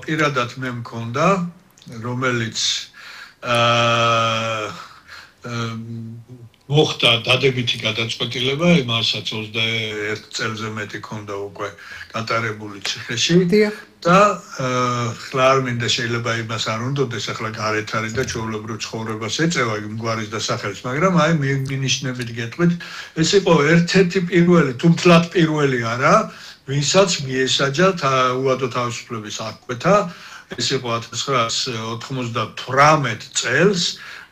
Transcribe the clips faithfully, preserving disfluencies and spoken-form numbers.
პირადად მე მქონდა, რომელიც აა მოხდა დადებითი გადაწყვეტილება, იმასაც ოცდაერთ წელზე მეტი ქონდა უკვე გატარებული ციხეში და ხლა არ მინდა შეიძლება იმას არ უნდოდეს, ახლა გარეთ არის და ჩვეულებრივ ცხოვრებას ეწევა იმ გვარის დასახელს, მაგრამ აი მინიშნებით გეტყვით, ეს იყო ერთ-ერთი პირველი, თუ მთლად პირველი არა, ვინცაც მიესაჯა უადო თავისუფლების აღკვეთა, ეს იყო ათას ცხრაას ოთხმოცდათვრამეტ წელს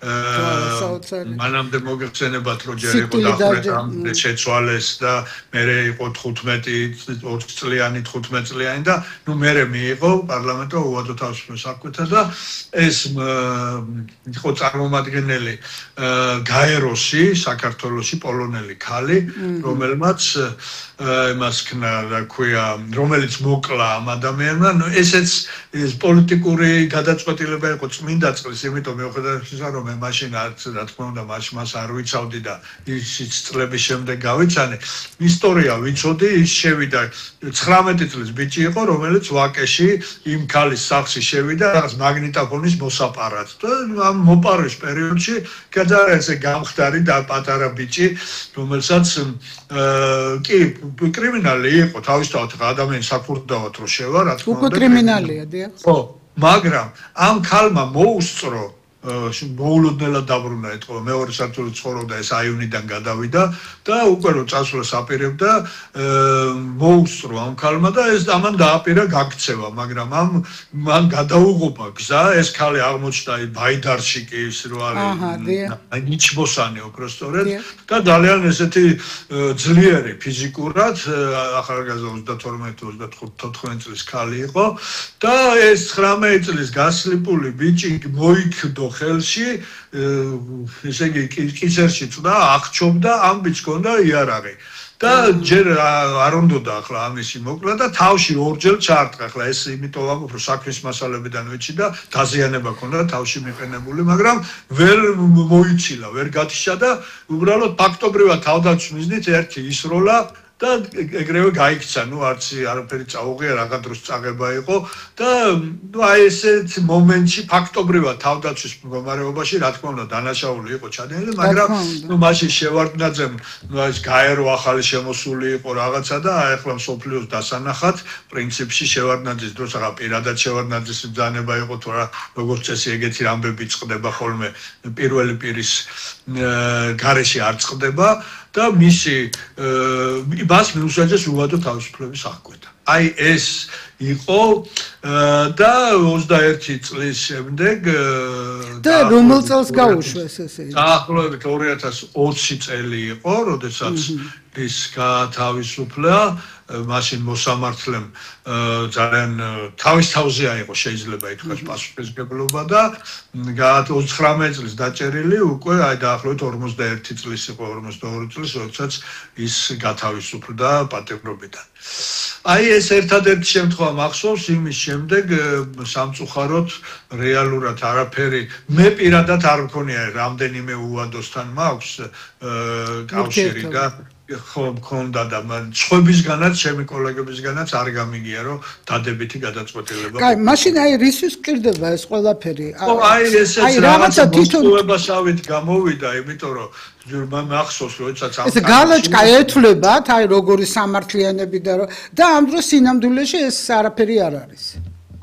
მანამდე მოგეხსენებათ რომ ჯერ იყო დახრეთ შეცვალეს და მერე იყო თხუთმეტი წლიანი თხუთმეტ წლიანი და ნუ მერე მიიღო პარლამენტო უადო თავისუფლების აღკვეთა და ეს იყო წარმომადგენელი გაეროსი საქართველოში პოლონელი ქალი რომელმაც იმას ქნა რა ქვია რომელიც მოკლა ამ ადამიანმა ნუ ესეც ეს პოლიტიკური გადაწყვეტილება იყო წმინდა წყლის იმიტომ მეუხედავად ისა რომ მე მაშინ არც რა თქმა უნდა მაშინ მას არ ვიცავდი და ისიც წლების შემდეგ გავიცანე ისტორია ვიცოდი ის შევიდა ცხრამეტი წლის ბიჭი იყო რომელიც ვაკეში იმ ქალის სახლში შევიდა რაღაც მაგნიტოფონის მოსაპარად და ამ მოპარვის პერიოდში გადაეცე გამხდარი და პატარა ბიჭი რომელსაც კი კრიმინალი იყო თავისთავად ადამიანის საფურდავად რო შევა რა თქმა უნდა უკვე კრიმინალია დიახ ხო მაგრამ ამ ქალმა მოუსწრო მოულოდნელად დაბრუნა ეთქო მეორე სართულზე ცხოვრობდა ეს აივნიდან გადავიდა და უკვე რო წასვლა საპირებდა მოუსწრო ამ ქალმა და ეს ამან დააპირა გაქცევა მაგრამ ამ მან გადაუღობა გზა ეს ქალი აღმოჩნდა ბაიდარში კი ის რო არის ნიჩბოსანი უბრალოდ და ძალიან ესეთი ძლიერი ფიზიკურად ახალგაზრდა ოცდათორმეტ ოცდათხუთმეტ წლის ქალი იყო და ეს ცხრამეტ წლის გასლიპული ბიჭი მოიქდო ხელში ესე იგი კისერში წდა აღჩობდა ამ ბიჭს ჰქონდა იარაღი და ჯერ არ უნდოდა ახლა ამისი მოკლა და თავში ორჯერ ჩაარტყა ახლა ეს იმიტომ ვამბობ რომ საქმის მასალებიდან ვიცი და დაზიანება ჰქონდა თავში მიყენებული მაგრამ ვერ მოიცილა ვერ გათიშა და უბრალოდ ფაქტობრივად თავდაცვის მიზნით ერთი ისროლა და ეგრევე გაიქცა, ნუ არც არაფერი წაუღია, რაღაც დროს წაღება იყო და აი ესეთ მომენტში ფაქტობრივად თავდაცვის მდგომარეობაში, რა თქმა უნდა, დანაშაული იყო ჩადენილი, მაგრამ ნუ მაშინ შევარდნაძემ, ნუ ეს გაერო ახალი შემოსული იყო რაღაცა და აი ახლა მსოფლიოს დასანახად, პრინციპში შევარდნაძის დროს აღა პირადად შევარდნაძის ბრძანება იყო თუ რა, როგორც წესი ეგეთი ამბები წყდება ხოლმე პირველი პირის გარეშე არ წყდება და მისი მას მიუსაჯეს უადო თავისუფლების აღკვეთა. აი ეს იყო და ოცდაერთი წლის შემდეგ და რომელ წელს გაუშვეს ესე? დაახლოებით ორი ათას ოცი წელი იყო, როდესაც ის გათავისუფლა მაშინ მოსამართლემ ძალიან თავის თავზე აიღო შეიძლება ითქვას პასუხისმგებლობა და ოცდათხმეტ წლის დაჭერილი უკვე აი დაახლოებით ორმოცდაერთი წლის იყო ორმოცდაორი წლის როდესაც ის გათავისუფლდა პატიმრობიდან. აი ეს ერთადერთი შემთხვევა მახსოვს იმის შემდეგ სამწუხაროდ რეალურად არაფერი მე პირადად არ მქონია რამდენიმე უადოსთან მაქვს კავშირი და ხო მქონდა და სხვებისგანაც ჩემი კოლეგებისგანაც არ გამიგია რომ დადებითი გადაწყვეტილება. კაი, მაშინ აი რისთვის მკირდება ეს ყველაფერი? ხო, აი ესეც რაღაცა მოსწოვებასავით გამოვიდა, იმიტომ რომ მახსოვს როდესაც ამ ეს გალოჭკა ეთვლებათ, აი როგორი სამართლიანები და და ამ დროს სინამდვილეში ეს არაფერი არ არის.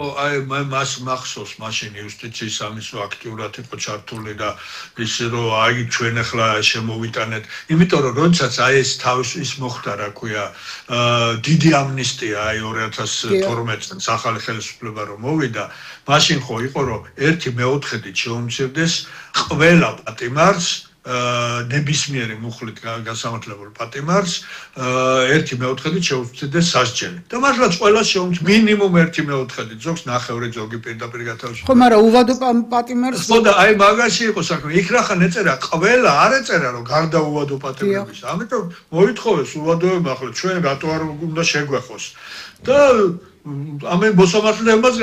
აი მას მახსოვს მაშინ იუსტიციის სამისო აქტიურად იყო ჩართული და ის რომ აი ჩვენ ახლა შემოვიტანეთ იმიტომ რომ როდესაც აი ეს თავის ის მოხდა რა ქვია დიდი ამნისტია აი ორი ათას თორმეტ წელს ახალი ხელისუფლება რომ მოვიდა მაშინ ხო იყო რომ ერთი მეოთხედით შეუმცირდეს ყველა პატიმარს ნებისმიერი მუხლით გასამართლებელ პატიმარს ერთი მეოთხედით შეუცდიდეს სასჯელი. და მართლაც ყველას შეუცდ მინიმუმ ერთი მეოთხედით, ზოგს ნახევრი ზოგი პირდაპირ გათავისუფლება. ხო, მაგრამ უვადო პატიმარს ხო და აი მაგაში იყო საქმე. იქ რა ხან ეწერა ყველა არ ეწერა რომ გარდა უვადო პატიმრების. ამიტომ მოითხოვეს უვადოება ახლა ჩვენ რატო არ უნდა შეგვეხოს. და ამე მოსამართლეებს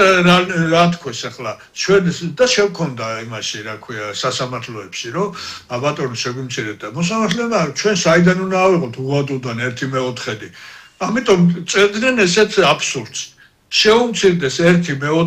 რა თქვეს ახლა ჩვენ და შევქონდა იმაში რა ქვია სასამართლოებში რომ აბატონო შეგვიმცირეთ და მოსამართლეებმა ჩვენ საიდან უნდა ავიღოთ უვადოდან ერთი მეოთხედი ამიტომ წერდნენ ესეთ აბსურდს შეუმცირდეს ერთი